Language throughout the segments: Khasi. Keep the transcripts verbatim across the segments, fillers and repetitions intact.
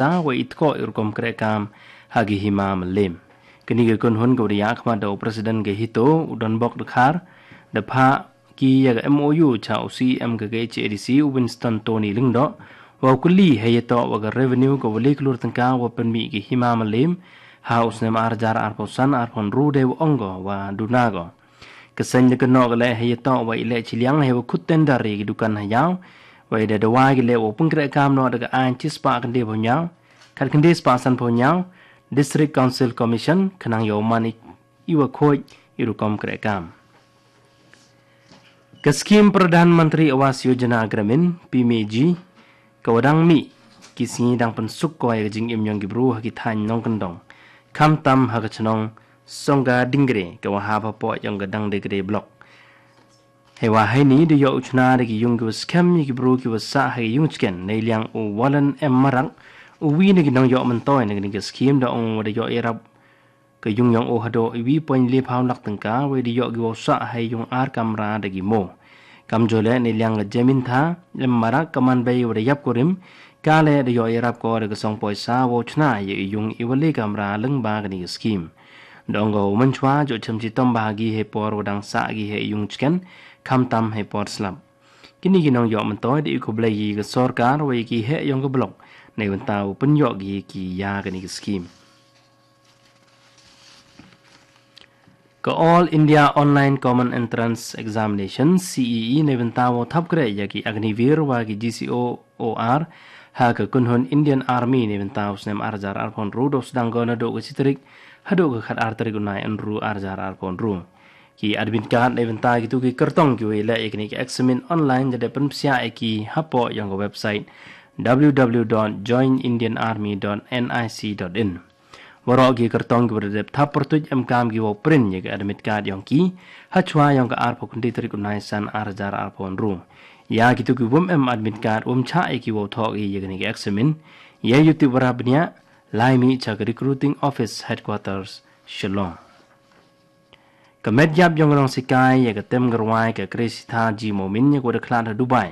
poisa wa i tkoh i rukom kreh kam ha ki hima mylliem. Kane ka kynhun ka wa da ïakhmat da u President ka HITO, u Donbok Dkhar, da phah ki ïa ka M O U cha u C E M ka K H A D C, u Winston Tony Lyngdoh, wa u kylli hei ïatoh wa ka revenue ka wa lai klur tyngka wa pynmih ki hima mylliem ha u snem ar hajar arphew san arphew hynriew, dei wa ong ko wa duna ko. Ka seng da kynnoh ka leh hei ïatoh wa i leh chiliang hei wa khut tender ïa ki dukan ha ïaw, wa i da dawa ki leh wa pynkreh kam noh da ka aiñ chispah khyndaiphew hynñiew, khatkhyndai spah sanphew hynñiew, District Council Commission, khnang ïoh man i, i wa khuid i rukom kreh kam. Ka skim Pradhan Mantri Awas Yojana Gramin, P M A G, ka wa dang mih, ki sngi dang pynsuk ko ïa ka jingim yong ki bru ha ki thaiñ nongkyndong, khamtam ha ka chnong Songga Dingre, ka wa hap hapoh yong ka Dangdegre Block. Hei wa heini da ïoh u chna da ki yung ki wa skhem ïa ki bru ki wa sah ha ki yung chken, nei liang u Wallen M Marak, u wi na ki nongïoh myntoi na kane ka skim, da ong wa da ïoh ïarap ka yung yong u haduh i wi point le phaw lak tyngka, wa da ïoh ki wa sah ha i yung ar kamra da ki mo. Kamjooh leh nei liang ka Jemintha M Marak, ka man bei wa da ïap kurim, ka leh da ïoh ïarap ko da ka song poisa wa u chna ïa i yung i wa le kamra lyngba kane ka skim. Da ong ka u mynchwa, jooh chem chitom bha ki hei por wa dang sah ki ha i yung chken, khamtam hei por slap. Kine ki nongïoh myntoi da i khublei ïa ka sorkar wa ïa ki heh yong ka block, nei bynta wa pynïoh ki ki ïa kane ka skim. Ka All India Online Common Entrance Examination, C E E, nei bynta wa thap kreh ïa ki Agniveer wa ki G C O O R ha ka kynhun Indian Army, nei bynta u snem ar hajar arphew hynriew, da u sdang ko naduh ka shi tarik haduh ka khat ar tarik u nai Ynru ar hajar arphew hynriew. Ki admit card nei bynta kitu ki kyrtong ki wa i leh ïa kine ki eksamin online da dep pynpsiah ïa ki hapoh yong ka website w w w dot join indian army dot n i c dot in. Waroh ki kyrtong ki wa da dep thap pyrtuid em kam ki wa print ïa ka admit card yong ki ha chwa yong ka arphew khyndai tarik u nai san ar hajar arphew hynriew. Ïa kitu ki wym em admit card, wym chah ïa ki wa thoh ki ïa kine ki eksamin, ïa ïu tip wa ra bniah, lai mih cha ka Recruiting Office, Headquarters, Shillong. Ka met ïap yong ka nongsikai ïa ka tem ka rwai ka Kresitha G Momin ïa ka wa da khlad ha Dubai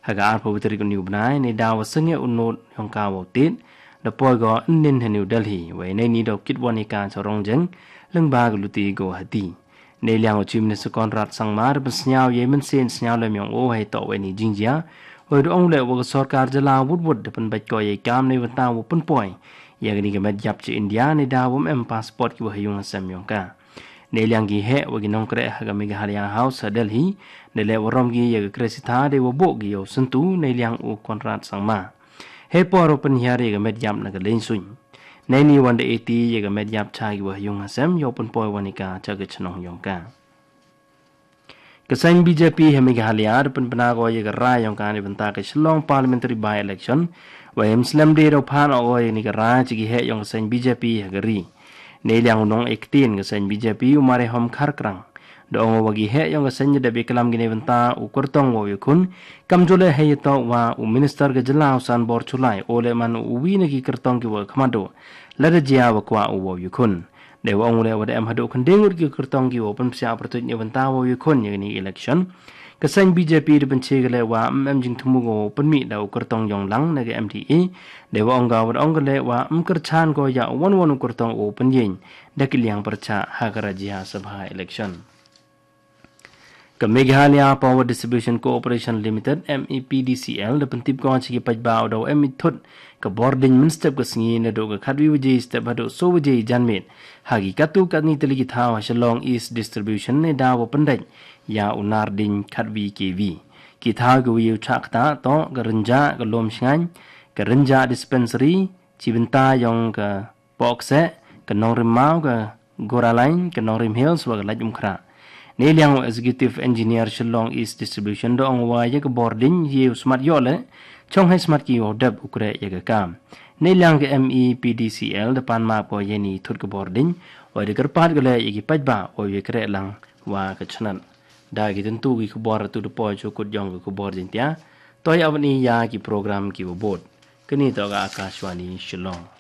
ha ka arphew tarik u ni u bnai, nei da wa sangeh u not yong ka wa u tied, da poi ko ynnin ha New Delhi, wa i nei ni da u kit wan ïa ka cha Rongjeng, lyngba ka luti Guwahati. Nei liang u Chief Minister Conrad Sangma da pynsngew ïa i mynsiem sngewlem yong u hei toh wa i ni jingjia, wa i da ong leh wa ka sorkar jylla wut wut da pynbeit ko ïa i kam nei bynta wa pynpoi ïa kane ka met ïap cha India, nei da wym em passport ki wa ha yung ha sem yong ka. Nei liang ki heh wa ki nongkreh ha ka Meghalaya House ha Delhi, da leh warom ki ïa ka Kresitha, dei wa buh ki ïa u syntu, nei liang u Conrad Sangma. Hei por wa pynhiar ïa ka met ïap na ka leiñ suiñ. Nei ni wan da eti ïa ka met ïap cha ki wa ha yung ha sem, ïa u pynpoi wan ïa ka cha ka chnong yong ka. Ka seng B J P ha Meghalaya da pynbna ko ïa ka rai yong ka nei bynta ka Shillong Parliamentary By-election, wa i ym slem de da u phan o ko ïa kane ka rai cha ki heh yong ka seng B J P ha ka ri. Nei liang u nongïaktien ka seng B J P, u Marehom Kharkrang, da ong wa ki heh yong ka seng da dep ïaklam ki nei bynta u kyrtong wa u ïakhun, kamjooh leh hei ïatoh wa u Minister ka jylla u Sanbor Chulai, u leh man u wi na ki kyrtong ki wa khmat duh, lada jia wa kwah u wa u ïakhun. Dei wa ong u leh wa da em haduh khyndai ngut ki kyrtong ki wa pynpsiah pyrtuid nei bynta wa u ïakhun ïa kane ka election. Ka seng B J P da pynche ka leh wa ym em jingthmu ko wa u pynmih da u kyrtong yong lang na ka M D A. Dei wa ong ka wa da ong ka leh wa ym kyrchan ko ïa u wan wan u kyrtong u pynïeng da ki liang pyrchah ha ka Rajya Sabha election. Ka Meghalaya Power Distribution Corporation Limited, M E P D C L, da pyntip ko cha ki paidbah u da u em i thut ka bor ding mynstep ka sngi naduh ka khatwi waje step haduh so waje janmiet ha ki katto katne tylli ki thaw ha Shillong East Distribution, nei da wa pyndait ïa u nar ding khatwi K V. Ki thaw ki wa ïa u chah ktah toh ka Rynjah, ka Lumshngaiñ, ka Rynjah Dispensary, chibynta yong ka Pohkseh, ka Nongrim Maw, ka Goralaiñ, ka Nongrim Hills wa ka Laitumkhrah. Nei liang u Executive Engineer Shillong East Distribution da ong wa ïa ka bor ding ïa u smat ïoh leh, chong hei smat ki wa u dep u kreh ïa ka kam. Nei liang ka M E P D C L da pan map ko ïa ni thut ka bor ding, wa da kyrpad ko leh ïa ki paidbah wa ïa kreh lang wa ka chnat. Da ki tentu ki khubor tu da poi cha u kut yong ka khubor Jaiñtia, to ïa wan i ïa ki program ki wa bud. Kane toh ka Akashvani Shillong.